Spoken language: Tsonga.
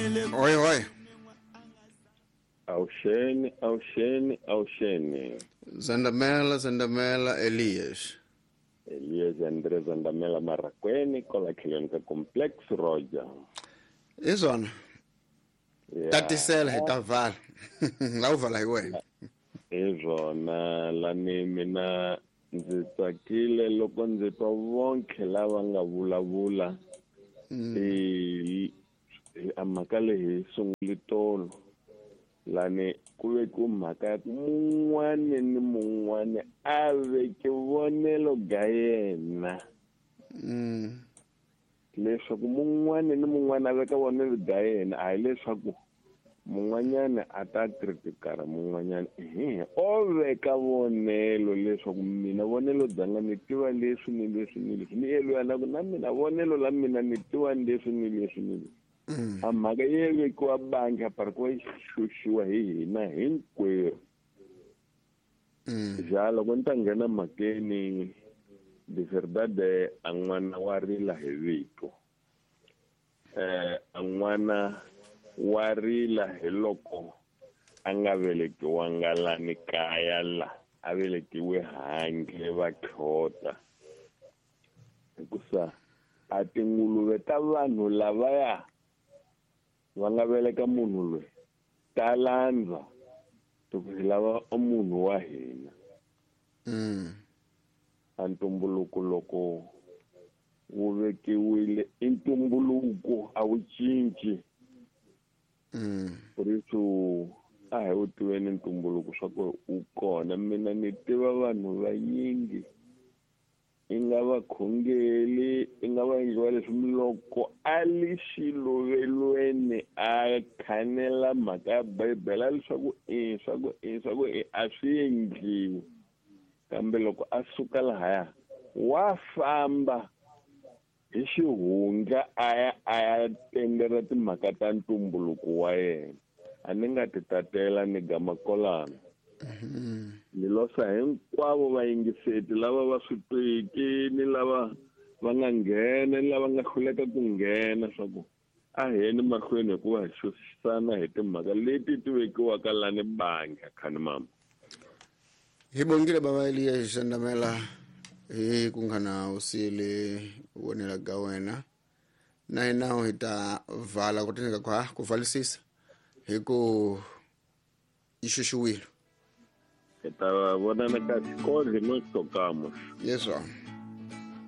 Oi oi. Awuxeni, awuxeni, awuxeni. Zandamela, Zandamela, Elias. Elias André Zandamela Marraquene, kola tlhelweni ka Complex Roger. Hi swona. Yeah. Tatisela hi ta vala. La u vala hi wena. Hi swona lani mina ndzi tsakile loko ndzi twa vonke lava nga vulavula. A mhaka leyi hi sungule tolo. Lani ku vekiwe mhaka ya ku mun'wani ni mun'wani a veke vonelo ga yena. Leswaku mun'wani ni mun'wani a veka vonelo ga yena, a hi leswaku mun'wanyana a ta kritikara mun'wanyana. O veka vonelo leswaku mina vonelo bya nga ni tiva leswi ni leswi ni leswi. Ni yelwa na ku na mina vonelo la mina ni tiva leswi ni leswi ni leswi. A mhaka yi vekiwa bangi a pari ku va yi xuxiwa hi hina hinkwerhu. Ja loko ni ta nghena mhakeni, de verdade a n'wana wa rila hi vito. A n'wana wa rila hi loko a nga velekiwanga lani kaya la, a velekiwe handle va tlhota. Hikusa a tinguluve ta vanhu lavaya va nga veleka munhu loyi ta landza loko hi lava munhu wa hina. A ntumbuluko loko wu vekiwile i ntumbuluko, a wu cinci. Por isso a hi wu tiveni ntumbuluko swa ku wu kona. Mina ni tiva vanhu vanyingi i nga va khongeli, i nga va endliwa leswi loko a li xiluvelweni a khanela mhaka ya Bibele leswaku i swa ku i swa ku i a swi endliwi. Kambe loko a suka lahaya wa famba hi xihundla a ya a ya tendera timhaka ta ntumbuluko wa yena. A ni nga ti tatela ni gama kolana. Ni losa hinkwavo vayingiseti lava va swi twiki ni lava va nga nghena ni lava nga hluleka ku nghena swa ku a hi yeni mahlweni hikuva hi xuxisana hi timhaka leti ti vekiwaka lani bangi khani mama. Hi bongile bava Elias Zandamela hi ku nghana usile vonela ga wena. Na hina hi ta vala ku tineka kwa ku valisisa hi ku yi xuxiwile. Hi ta vonana ka xikodli no xitokamo. Yes sir.